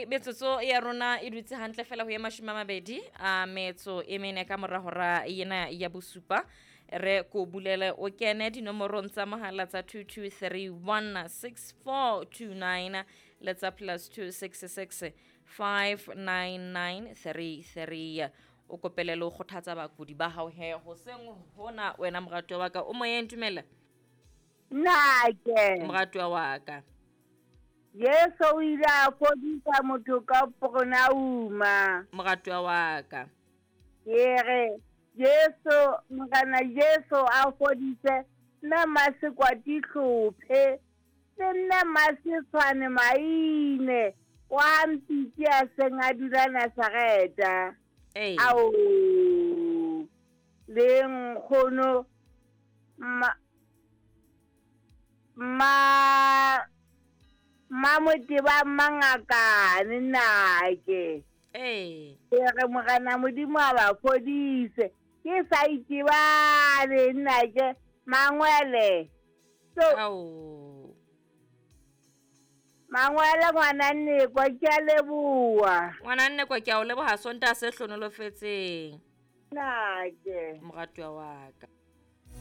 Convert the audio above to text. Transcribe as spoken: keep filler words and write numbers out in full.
Ke metsotso ya rona e dutse hantle fela ho ye mashome a mabedi a metso e mene ka mora hora ena ya bosupa. Re ko bulele o kene dinomorong tsa mohala tsa two two three one six four two nine le tsa plus two six six five nine nine three three. O kopele le ho kgothatsa bakudi ba hao he hoseng hona wena moratuwa wa ka. O moyeng, dumela. Nnake. Moratuwa wa ka. Jesu o ile a fodisa motho ka Pronauma. Moratuwa wa ka. Ke re Jesu, Morena Jesu a fodise nna Masekwati hlophe le nna Masetshwane Maine wa Mpitsi a seng a dula Nazareta. Ee. Ao le nkgono ma, ma, Mamoteba Mangakane nnake. Ee. Ke re Morena Modimo a ba fodise. Ke sa itebale nnake Mangwele. So, Ao. Mangwele ngwana Nnekwa, ke a leboha. Ngwana Nnekwa, ke a o leboha Sontaha se hlonolofetseng. Nnake. Moratuwa wa ka.